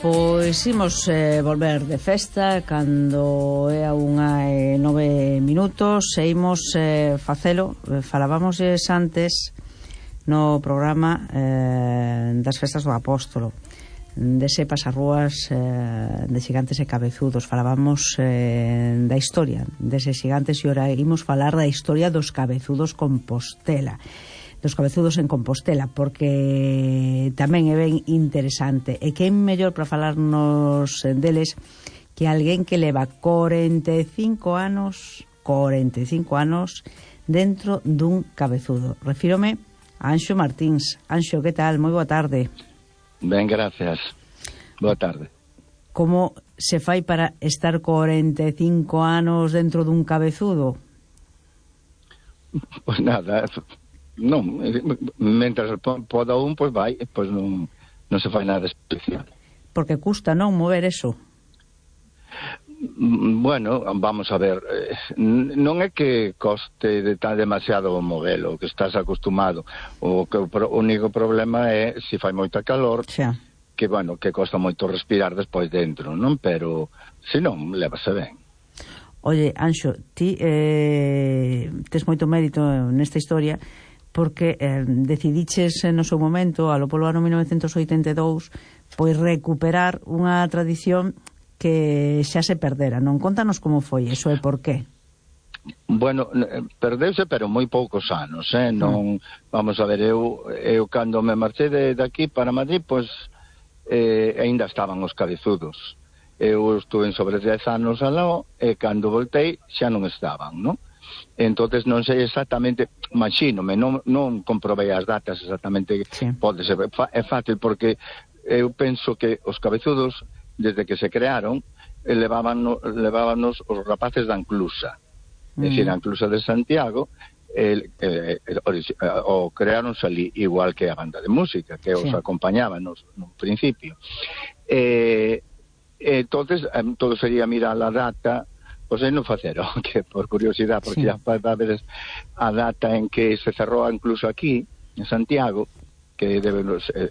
Pois imos volver de festa cando é a 1:09 e imos facelo. Falábamos antes no programa das festas do Apóstolo, dese pasarrúas de xigantes e cabezudos. Falábamos da historia deses xigantes e ora imos falar da historia dos cabezudos Compostela, dos cabezudos en Compostela, porque tamén é ben interesante. E que é mellor para falarnos deles que alguén que leva 45 anos dentro dun cabezudo. Refírome a Anxo Martíns. Anxo, que tal? Moi boa tarde. Ben, gracias. Boa tarde. Como se fai para estar 45 anos dentro dun cabezudo? Pois nada, non, mentras poda un, pois vai, pois non se fai nada especial. Porque custa, non, mover eso? Bueno, vamos a ver, non é que coste demasiado o movelo, que estás acostumado. O único problema é se fai moita calor, xa, que, bueno, que costa moito respirar despois dentro, non? Pero, se non, levase ben. Oye, Anxo, ti tes moito mérito nesta historia, porque decidiches no seu momento, alo polo ano 1982, pois recuperar unha tradición que xa se perdera, non? Contanos como foi eso e por qué. Bueno, perdeuse, pero moi poucos anos, non, vamos a ver, eu cando me marchei de aquí para Madrid, pois aínda estaban os cabezudos. Eu estuve sobre 10 anos aló, e cando voltei xa non estaban, non? Entonces non sei exactamente, imagínome, non comprobei as datas exactamente, sí. Pode ser, é fácil, porque eu penso que os cabezudos, desde que se crearon, levábanos os rapaces da Anclusa, é dicir, a Anclusa de Santiago, o creáronse ali, igual que a banda de música, que os acompañaba no principio. Entonces, todo sería mirar a data. Pois aí non facero, que por curiosidade, porque xa vai haber a data en que se cerrou incluso aquí, en Santiago, que debe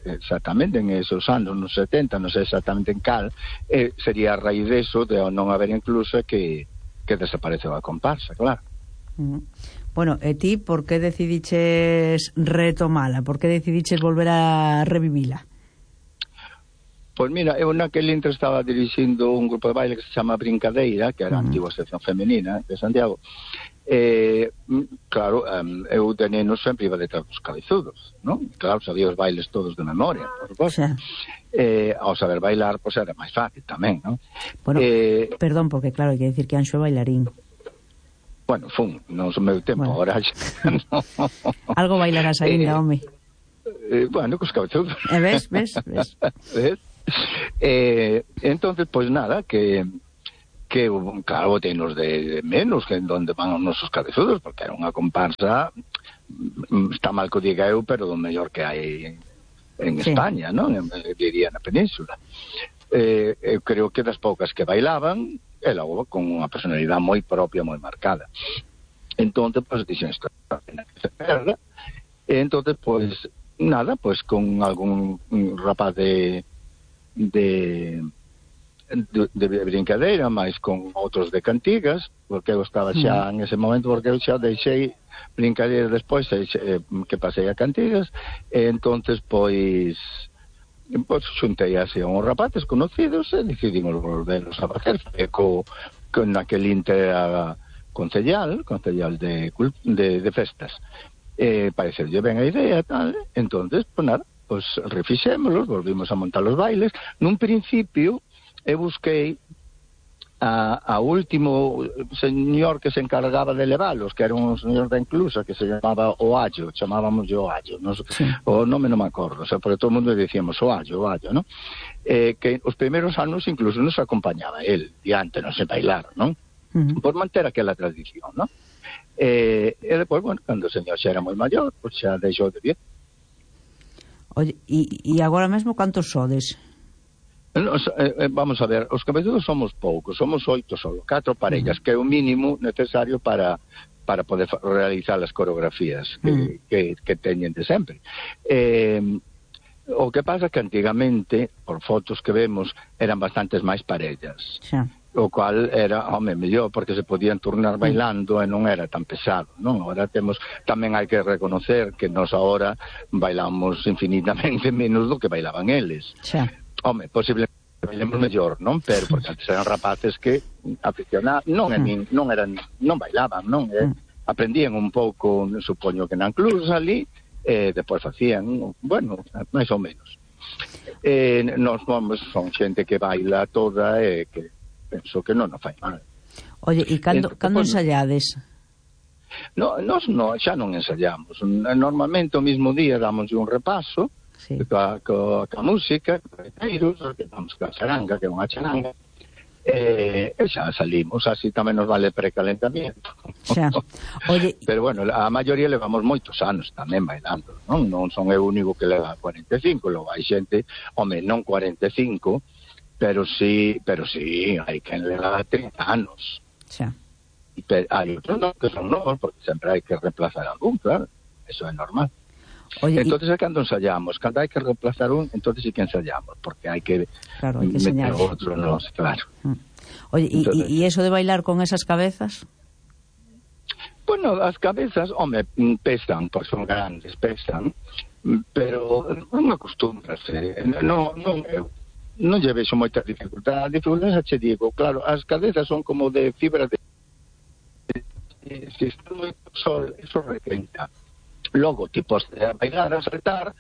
exactamente en esos anos, nos 70, non sei exactamente en cal, sería a raíz deso, de non haber incluso que desapareceu a comparsa, claro. Bueno, e ti, por que decidiches retomala? Por que decidiches volver a revivila? Pois mira, eu naquele intre estaba dirixindo un grupo de baile que se chama Brincadeira, que era a antigua sección femenina de Santiago. Claro, eu de neno sempre iba detrás dos cabezudos, non? Claro, sabía os bailes todos de memoria, por suposto. Ao saber bailar, pois era máis fácil tamén, non? Bueno, perdón, porque claro, hai que decir que Anxo é bailarín. Bueno, non son meu tempo, agora xa. Algo bailarás ainda, home. Bueno, cos cabezudos. Ves? Entonces, pois nada, que claro, boteinos de menos que en donde van os nosos cabezudos, porque era unha comparsa, está mal que o diga eu, pero do mellor que hai en España, non? Diría na península. Eu creo que das poucas que bailaban, e logo con unha personalidade moi propia, moi marcada. Entonces, pois, dixen isto, que se perda. Entonces, pois, nada, pois con algún rapaz de brincadeira, máis con outros de cantigas, porque eu estaba xa en ese momento, porque eu xa deixei brincadeira despois, que pasei a cantigas, e entonces pois xuntei así a uns rapaces conocidos e decidimos volverlos a facer, con aquel inter concellal de festas. Pareceulle ben a idea, tal, entonces, pois nada, pois refixémolos, volvimos a montar os bailes. Nun principio eu busquei a último señor que se encargaba de leválos, que era un señor da Inclusa que se chamaba Oallo, chamábamos o Oallo, o nome non me acordo, o sea, porque todo o mundo dicíamos Oallo, non? Que os primeiros anos incluso nos acompañaba el diante, non se bailar, non? Por manter aquela tradición, non? E depois, bueno, cando o señor xa era moi maior, pois xa deixou de vir. Oye, e agora mesmo cantos sodes? Vamos a ver, os cabezudos somos poucos, somos 8 solo, 4 parellas, que é o mínimo necesario para poder realizar as coreografías que teñen de sempre. O que pasa que antigamente, por fotos que vemos, eran bastantes máis parellas. Xa. O cual era, mellor, porque se podían turnar bailando e non era tan pesado, non? Ahora tamén hai que reconocer que nos agora bailamos infinitamente menos do que bailaban eles. Xa. Posiblemente bailemos mellor, non? Pero porque antes eran rapaces que aficionados, non bailaban, non? Aprendían un pouco, supoño que na clubs ali, depois facían, bueno, máis ou menos. Nos son xente que baila toda e que penso que non fai mal. Oye, e cando ensayades? Nos xa non ensayamos. Normalmente o mismo día damos un repaso coa música, que damos coa charanga, que é unha charanga, e xa salimos, así tamén nos vale precalentamiento. Xa. Oye, pero bueno, a maioría levamos moitos anos tamén bailando, non son eu único que leva 45, logo hai xente, non 45, pero sí, hai quen leva 30 anos. Xa. Hai outros non, que son novos, porque sempre hai que reemplazar algún, claro, eso é normal. Oye, entonces é cando ensayamos, cando hai que reemplazar un, entonces sí que ensayamos, porque hai que meter outro, claro. Oye, e eso de bailar con esas cabezas? Bueno, as cabezas, pesan, porque son grandes, pesan, pero non acostúmbrase, non lle vexo moita dificultade. A dificultade che digo, claro, as cabezas son como de fibra de... Se está moito sol, eso requenta. Logo, ti podes bailar, a saltar,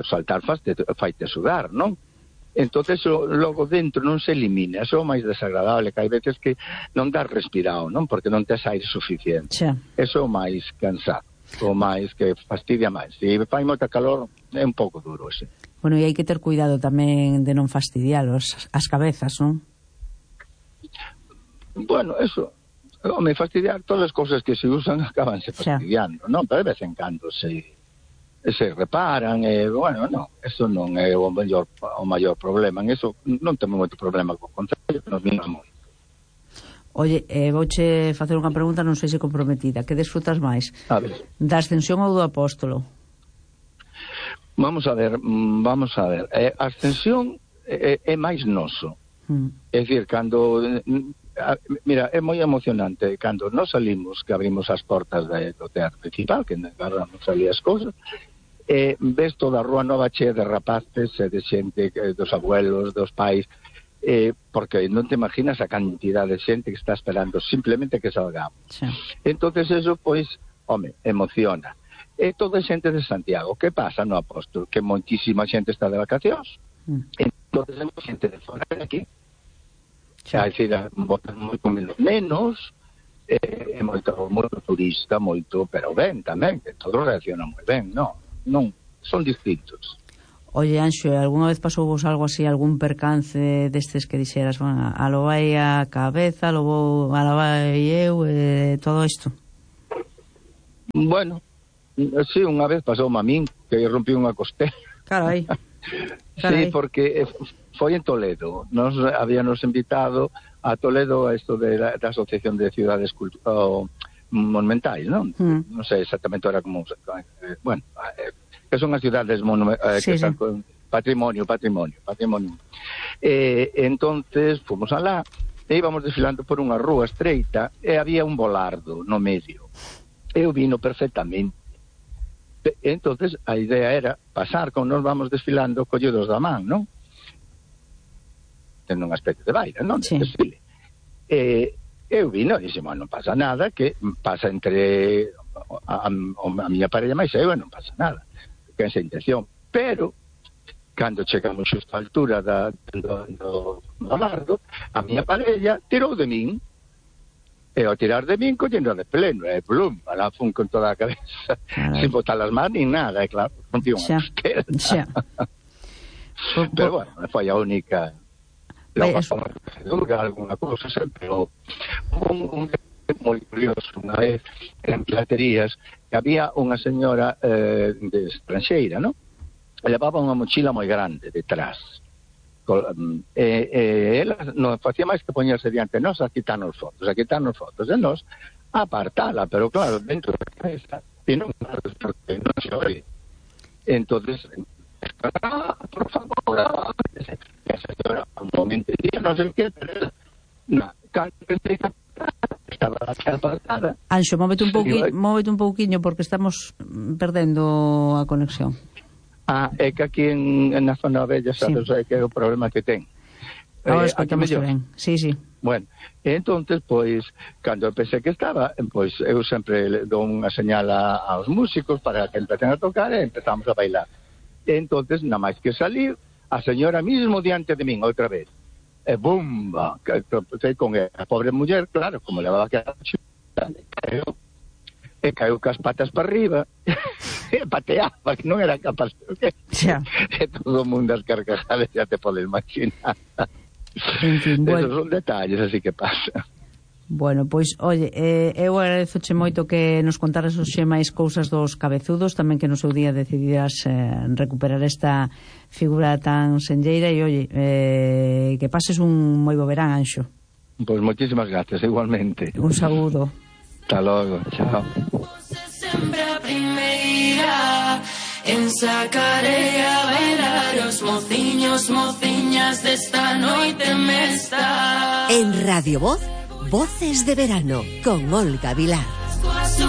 saltar faite sudar, non? Entonces, logo dentro non se elimina, eso é o máis desagradable, que hai veces que non dás respirado, non? Porque non tes aire suficiente. Xa. Eso é o máis cansado, o máis que fastidia máis. Se fai moita calor, é un pouco duro, ese. Bueno, e hai que ter cuidado tamén de non fastidialos as cabezas, non? Bueno, eso... fastidiar todas as cousas que se usan acabanse fastidiando, non? Pero de vez en cando se reparan, bueno, non, eso non é o maior problema, en eso non temos moito problema co contrario, que nos vimos moito. Oye, vouche facer unha pregunta, non sei se comprometida, que desfrutas máis? A ver. Da Ascensión ou do Apóstolo? Vamos a ver, a Ascensión é máis noso, é dicir, cando... Mira, é moi emocionante cando nos salimos, que abrimos as portas do teatro principal, que agarramos ali as cousas, ves toda a rúa nova chea de rapaces e de xente, dos abuelos, dos pais, porque non te imaginas a cantidad de xente que está esperando simplemente que salgamos. Sí. Entonces eso, pois, emociona. E toda a xente de Santiago, que pasa no Apóstol? Que moitísima xente está de vacacións. Entonces hai xente de fora de aquí. Xa, é dicir, botan moito menos, moito turista, pero ben tamén, que todos reaccionan moi ben, non, son distintos. Oye, Anxo, alguna vez pasou vos algo así, algún percance destes que dixeras, bueno, a lo vai a cabeza, a lo vai eu, todo isto? Bueno, sí, unha vez pasou a min, que rompí unha costela. Carai. Sí, porque foi en Toledo. Nos habíamos invitado a Toledo a esto de la Asociación de Ciudades Monumentais, non? Non sei exactamente ahora como... bueno, que son as cidades que están con patrimonio. Entonces, fomos alá, e íbamos desfilando por unha rúa estreita, e había un volardo no medio. Eu vino perfectamente. Entonces a idea era pasar, como nos vamos desfilando, colledos da man, non? Tendo unha especie de baile, non? Sí. Desfile. Eu vino e dixen, non pasa nada, que pasa entre a miña parella máis eu, non pasa nada, que esa intención. Pero cando chegamos xusto á altura do largo, a miña parella tirou de min. E ao tirar de min, collendo de pleno, plum, alá fun con toda a cabeza, sin botar as mans nin nada, claro, non tivo unha costela. Pero bueno, foi a única... alguna cousa sempre, un moi curioso, unha vez en platerías, que había unha señora de estranxeira, non? Levaba unha mochila moi grande detrás. Ela non facía máis que poñerse diante de nós a quitarnos fotos, e nós a apartala, pero claro, dentro da cabeza e non porque non se ore. Entonces por favor, esa señora, un momento, non sei que, pero cando pensei que estaba apartada. Anxo, móvete un pouquiño porque estamos perdendo a conexión. É que aquí na zona bella, sabes, sí. Que é o problema que ten. Ahora escoitamos ben. Sí. Bueno, entonces, pois, cando eu pensei que estaba, pois, eu sempre dou unha señal aos músicos para que empecen a tocar e empezamos a bailar. Entonces, nada máis que salir, a señora mismo diante de min, outra vez. E bumba, con a pobre muller, claro, como levaba que caiu cas patas para arriba e pateaba, que non era capaz e todo o mundo as carcajadas, xa te podes imaginar. En fin, bueno. Esos son detalles, así que pasa. Bueno, pois, oye, eu agradezoche moito que nos contaras hoxe máis cousas dos cabezudos, tamén que no seu día decidiras recuperar esta figura tan senlleira e, oye, que pases un moi bo verán, Anxo. Pois moitísimas gracias, igualmente. Un saúdo. Hasta logo, chao. Sempre a primeira en sacarei a bailar os mociños, mociñas desta noite mesta. En Radio Voz, Voces de Verano, con Olga Vilar.